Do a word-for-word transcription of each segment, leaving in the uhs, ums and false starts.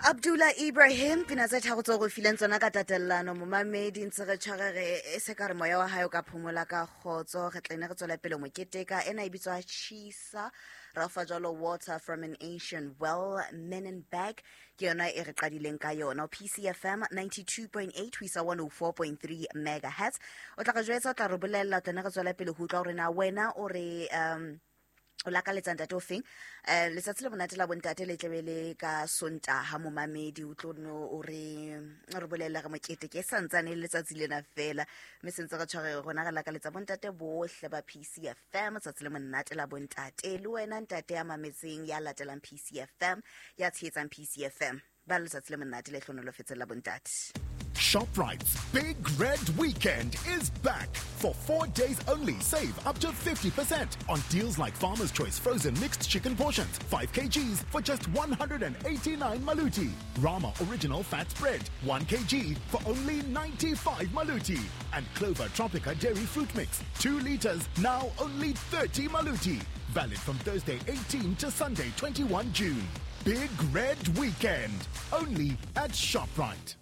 Abdullah Ibrahim pina tse tharo tseo re fileng tsona ka tatellano momamedi ntse re tshware re e se ka re moya wa hae o ka phomola ka kgotso re tlene re tswela pele moketeka ena e bitswa Chisa Rafa jalo water from an ancient well men and bag ke yona e re qadileng ka yona P C F M ninety-two point eight ho isa one oh four point three megahertz o tla re jwetsa o tla re bolella tlene re tswela pele ho utlwa hore na wena o re um o lakaletsa ntate o feng eh letsatsi le monate la bontate le tlebe le ka Sontaha momamedi o tlo no o re re bolella re mokete ke santsane le letsatsi lena fela mme sentse re tshware rona re lakaletsa bontate bohle ba P C F M letsatsi le monate la bontate le wena ntate ya mametseng ya latelang P C F M ya tshehetsang P C F M ba letsatsi le monate le hlonolofetse la bontate. ShopRite's Big Red Weekend is back. For four days only, save up to fifty percent on deals like Farmer's Choice frozen mixed chicken portions, five kilograms for just one hundred eighty-nine maluti. Rama Original Fat Spread, one kilogram for only ninety-five maluti. And Clover Tropica Dairy Fruit Mix, two liters, now only thirty maluti. Valid from Thursday eighteenth to Sunday twenty-first June. Big Red Weekend, only at ShopRite.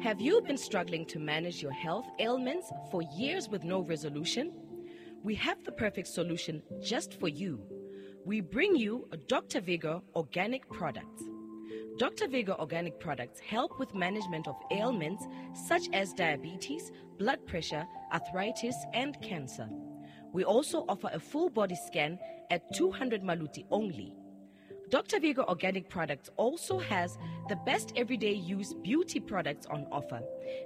Have you been struggling to manage your health ailments for years with no resolution? We have the perfect solution just for you. We bring you Doctor Vigor Organic Products. Doctor Vigor Organic Products help with management of ailments such as diabetes, blood pressure, arthritis, and cancer. We also offer a full body scan at two hundred maluti only. Doctor Vigor Organic Products also has the best everyday use beauty products on offer.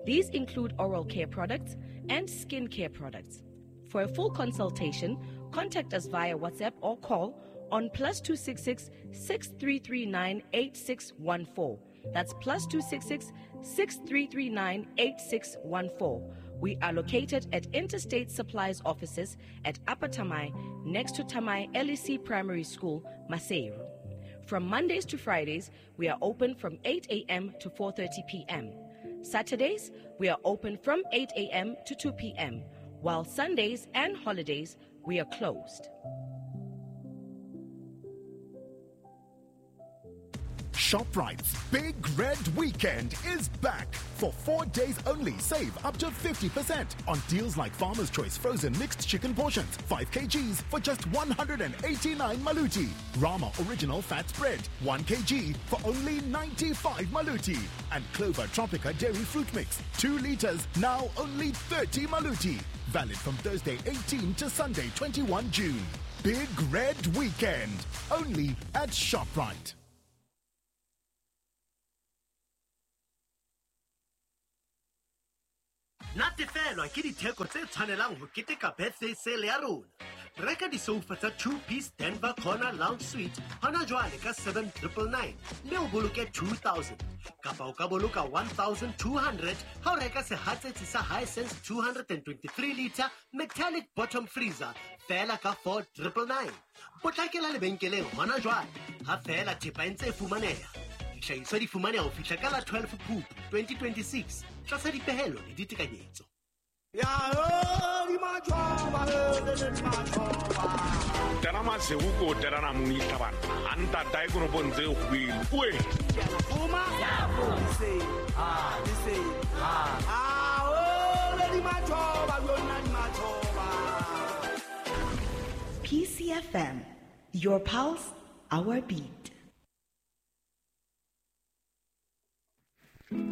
These include oral care products and skin care products. For a full consultation, contact us via WhatsApp or call on plus two six six, six three three nine, eight six one four. That's plus two six six, six three three nine, eight six one four. We are located at Interstate Supplies offices at Upper Tamai, next to Tamai L E C Primary School, Maseru. From Mondays to Fridays, we are open from eight a.m. to four thirty p.m. Saturdays, we are open from eight a.m. to two p.m., while Sundays and holidays, we are closed. ShopRite's Big Red Weekend is back. For four days only, save up to fifty percent on deals like Farmer's Choice frozen mixed chicken portions, five kilograms for just one hundred eighty-nine maluti. Rama Original Fat Spread, one kilogram for only ninety-five maluti. And Clover Tropica Dairy Fruit Mix, two liters, now only thirty maluti. Valid from Thursday eighteenth to Sunday twenty-first June. Big Red Weekend, only at ShopRite. Natefelwa ke ditheko tse tshwanelang ho keteka birthday sale ya rona. Reka disofa tsa two-piece Denver Corner Lounge Suite hona jwale ka seven triple nine mme o boloke two thousand. Kapa o ka boloka one thousand two hundred ha o reka sehatsetsi sa Hisense two hundred twenty-three liter metallic bottom freezer fela ka four triple nine. Potlakela lebenkeleng hona jwale ha fela thepa e ntse e fumaneha. Dihlahiswa di fumaneha ho fihla ka la twelve Phupu twenty twenty-six tlasa dipehelo le ditekanyetso. P C F M, your pulse, our beat.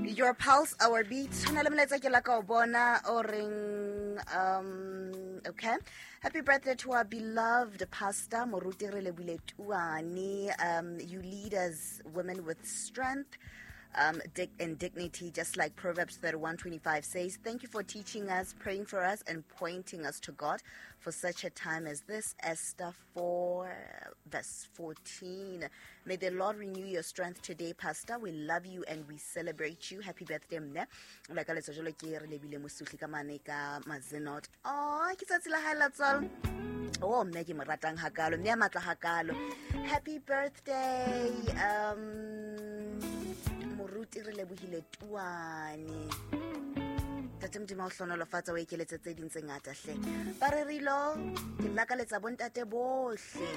Your pulse, our beat. Ho na le molaetsa ke la ka o bona o reng, um, okay. Happy birthday to our beloved pastor Moruti Relebile Tuane. Um, you lead us women with strength, um, dig- and dignity, just like Proverbs thirty-one twenty-five says. Thank you for teaching us, praying for us, and pointing us to God for such a time as this. Esther four, verse fourteen. May the Lord renew your strength today, Pastor. We love you and we celebrate you. Happy birthday, mne. La ka letsa jalo ke re lebile mosuhli ka mane ka Mazenot. Oh, ke tsatsi la hae la tswalo. Oh, mme ke mo ratang hakalo, mme a matla hakalo. Happy birthday, um, Moruti Relebohile Tuane. Tate Modimo o hlonolofatsa o ekeletse tse ding tse ngata hle. Ba rerilo ke lakaletsa bontate bohle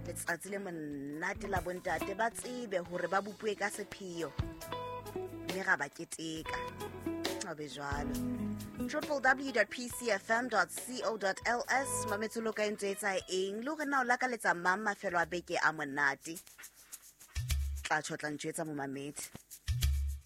letsatsi le monate la bontate, ba tsebe hore ba bopuwe ka sepheo mme ra ba keteka. A be jwalo. w w w dot p c f m dot co dot l s mametse lo ka ntse etsa eng le hore na o lakaletsa mang mafelo a beke a monate. Tla tjho tla ntjwetsa momamedi.